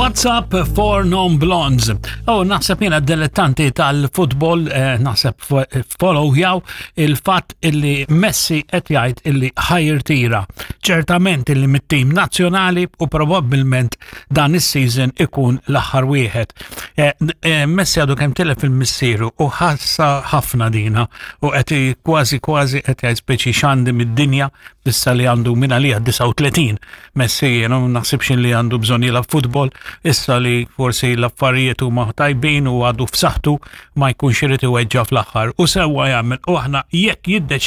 What's up for non blondes? Oh, naħseb jiena dilettanti tal-futbol, eh, naħseb follow jaw il-fatt illi Messi qed jgħid illi ħajrtira. Ċertament illi mit-tim nazzjonali u probabbilment dan is-season ikun l-aħħar wieħed. Eh, eh, Messi għadu kemm tilef il-missieru u ħassa ħafna dina u qed kważi kważi qed jgħid speċi xandi mid-dinja issa li għandu minn għalija 39. Messi jiena ma naħsibx li għandu bżonn jilgħab futbol, issa li forsi l-affarijiet huma tajbin u għadu f'saħħtu ma jkunx irid iweġġa' fl-aħħar. U sewwa jagħmel u aħna jekk jiddeċiedi.